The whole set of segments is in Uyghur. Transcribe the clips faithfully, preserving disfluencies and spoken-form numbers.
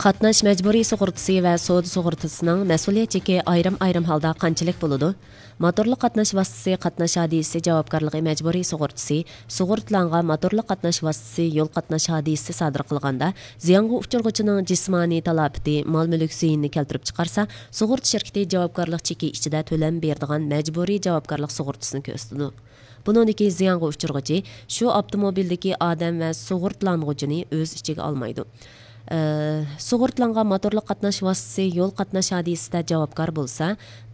قاتناش مەجبۇرىي سۇغۇرتىسى ۋە سودا سۇغۇرتىسىنىڭ مەسئۇلىيەت چېكى ئايرىم-ئايرىم ھالدا قانچىلىك بولىدۇ؟ موتورلۇق قاتناش ۋاسىتىسى قاتناش ھادىسىسى جاۋابكارلىقى مەجبۇرىي سۇغۇرتىسى، سۇغۇرتىلانغان موتورلۇق قاتناش ۋاسىتىسى يول قاتناش ھادىسىسى سادىر قىلغاندا زىيانغا ئۇچرىغۇچىنىڭ جىسمانىي تالاپىتى، مال-مۈلۈك زىيىنىنى كەلتۈرۈپ چىقارسا، سۇغۇرتا شىركىتى جاۋابكارلىق چېكى ئىچىدە تۆلەم بېرىدىغان مەجبۇرىي جاۋابكارلىق سۇغۇرتىسىنى كۆرسىتىدۇ. بۇنىڭدىكى زىيانغا ئۇچرىغۇچى شۇ ئاپتوموبىلدىكى ئادەم ۋە سۇغۇرتىلانغۇچىنى ئۆز ئىچىگە ئالمايدۇ. ئە، سۇغۇرتىلانغان موتورلۇق قاتناش ۋاسىتىسى يول قاتناش ھادىسىسىدە جاۋابكار بولسا،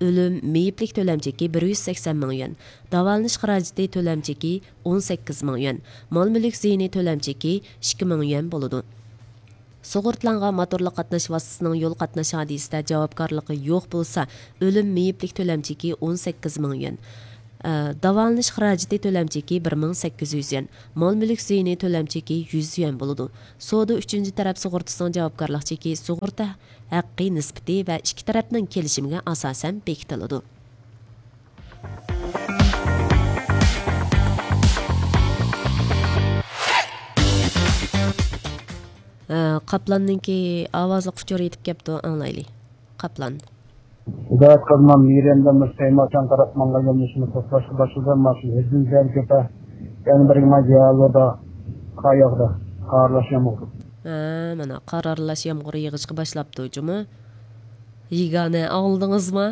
ئۆلۈم، مېيىپلىك تۆلەم چېكى بىر يۈز سەكسەن مىڭ يۈەن، داۋالىنىش خىراجىتى تۆلەم چېكى ئون سەككىز مىڭ يۈەن، مال-مۈلۈك زىيىنى تۆلەم چېكى ئىككى مىڭ يۈەن بولىدۇ. سۇغۇرتىلانغان موتورلۇق قاتناش ۋاسىتىسىنىڭ يول قاتناش ھادىسىسىدە جاۋابكارلىقى يوق بولسا، ئۆلۈم، مېيىپلىك تۆلەم چېكى ئون سەككىز مىڭ يۈەن، ئە، داۋالىنىش خىراجىتى تۆلەم چېكى بىر مىڭ سەككىز يۈز يۈەن، مال-مۈلۈك زىيىنى تۆلەم چېكى يۈز يۈەن بولىدۇ. سودا ئۈچىنچى تەرەپ سۇغۇرتىسىنىڭ جاۋابكارلىق چېكى سۇغۇرتا ھەققى نىسبىتى ۋە ئىككى تەرەپنىڭ كېلىشىمىگە ئاساسەن بېكىتىلىدۇ. ئە، قاپلاننىڭكى ئاۋازلىق ئۇچۇر يېتىپ كەپتۇ، ئاڭلايلى. قاپلان. ھىدايەت قىلما، مىرەندە مۇشتەيماچان قاراپ ماڭغان يولدىشىمىز توختاشقا باشلىدى. ماشىنا ھىدىن زەر كېتە. يەنە بىرگە ما جىھازىدا قاياقدا قارلاش يامغۇر. ھە، مانا قار ئارىلاش يامغۇر يېغىشقا باشلاپتۇ جۇمۇ. يېگانە، ئاڭلىدىڭىزما؟